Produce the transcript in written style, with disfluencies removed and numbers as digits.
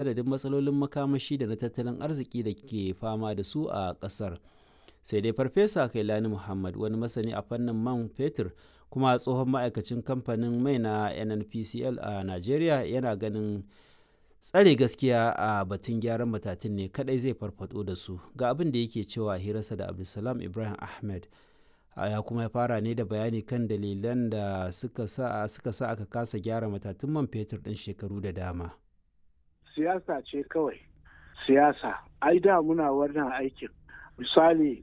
Adadin matsalolin makamashi da na tattalin arziki da ke fama da su a ƙasar. Sai dai Farfesa Kailani Muhammad, wani masani a fannin man fetur kuma tsohon ma'aikacin kamfanin mai na NNPCL a Najeriya, yana ganin tsare gaskiya a batun gyaran matatun ne kadai zai farfado da su. Ga abin da yake cewa a hirarsa da Abdulsalam Ibrahim Ahmed. Ya kuma fara ne da bayani kan dalilan da suka sa aka kasa gyara matatun man fetur ɗin shekaru da dama. Siyasa ce kawai, siyasa. Ai da muna wannan aikin. Misali